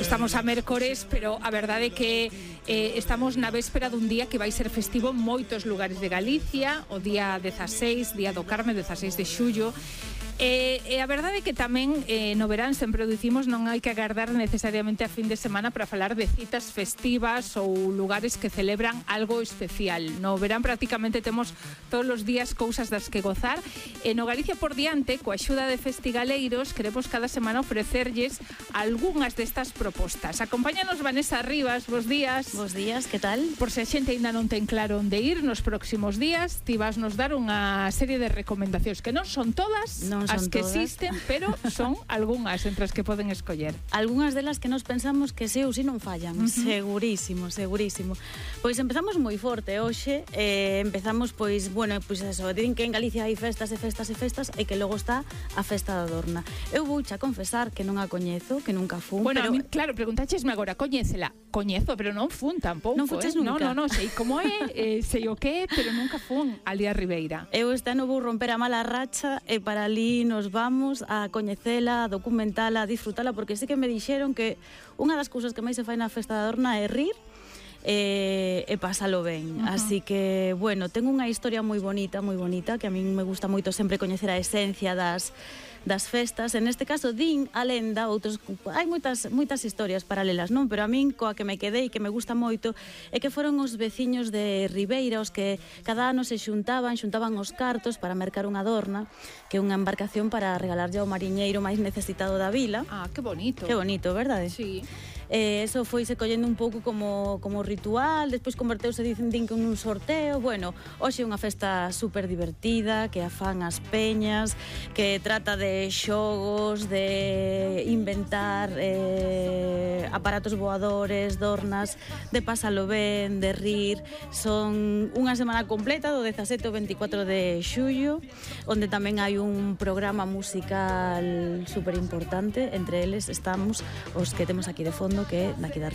Estamos a mércores, pero a verdade é que estamos na véspera dun día que vai ser festivo en moitos lugares de Galicia, o día 16, Día do Carme, 16 de xullo. E a verdade é que tamén no verán sempre o dicimos, non hai que agardar necesariamente a fin de semana para falar de citas festivas ou lugares que celebran algo especial. No verán prácticamente temos todos os días cousas das que gozar, e no Galicia por diante, coa axuda de festigaleiros, queremos cada semana ofrecerlles algunhas destas propostas. Acompáñanos Vanessa Rivas, bos días. Bos días, que tal? Por se a xente ainda non ten claro onde ir nos próximos días, ti vas nos dar unha serie de recomendacións que non son todas, non as son que todas. existen, pero son algunhas entre as que poden escoller. Algunhas delas que nos pensamos que sí ou sí non fallan, segurísimo, segurísimo. Pois empezamos moi forte hoxe, empezamos pois, bueno, pois eso, din que en Galicia hai festas e festas e festas e que logo está a festa da Dorna. Eu vouche a confesar que non a coñezo, que nunca fun, bueno, pero... a mí, claro, preguntáchesme agora, coñécela? Coñezo, pero non fun tampouco. Non fuches nunca? No, sei como é, sei o que é, pero nunca fun ali a Ribeira. Eu este ano vou romper a mala racha e para ali nos vamos a coñecela, a documentala, a disfrutala, porque sí que me dixeron que unha das cousas que máis se fai na festa da Dorna é rir e pásalo ben. Así que, bueno, tengo unha historia moi bonita, que a min me gusta moito sempre coñecer a esencia das festas. En este caso din a lenda, outros hai moitas historias paralelas, non? Pero a min coa que me quedei, que me gusta moito, é que foron os veciños de Ribeira os que cada ano se xuntaban os cartos para mercar unha Dorna, que é unha embarcación para regalarlle ao mariñeiro máis necesitado da vila. Ah, que bonito. Que bonito, verdade? Sí. Eso foi se collendo un pouco como ritual, despois converteuse, din que un sorteo. Bueno, hoxe é unha festa super divertida, que a fan as peñas, que trata de xogos, de inventar aparatos voadores, dornas, de pasalo ben, de rir. Son unha semana completa do 17 ao 24 de xullo, onde tamén hai un programa musical super importante. Entre eles estamos os que temos aquí de fondo, que é daqui da